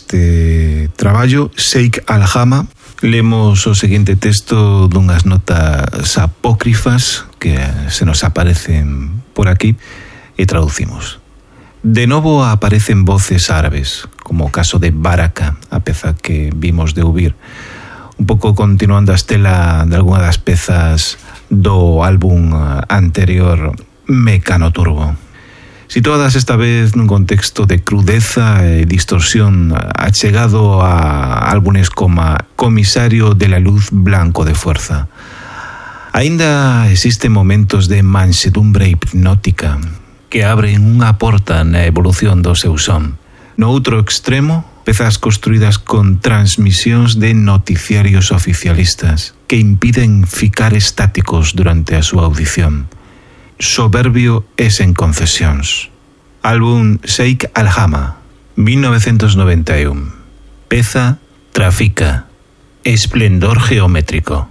este traballo, Sheikh Al-Hama. Lemos o seguinte texto dunhas notas apócrifas que se nos aparecen por aquí e traducimos. De novo aparecen voces árabes, como o caso de Baraka, a peza que vimos de ouvir, un pouco continuando a estela de algunha das pezas do álbum anterior Mecano Turbo. Situadas esta vez nun contexto de crudeza e distorsión achegado a álbumes como Comisario de la Luz Blanco de Fuerza. Aínda existen momentos de mansedumbre hipnótica que abren unha porta na evolución do seu son. No outro extremo, pezas construídas con transmisións de noticiarios oficialistas que impiden ficar estáticos durante a súa audición. Soberbio e sen concesións. Álbum Sheikh Al-Hama, 1991. Peza Trafica. Esplendor geométrico.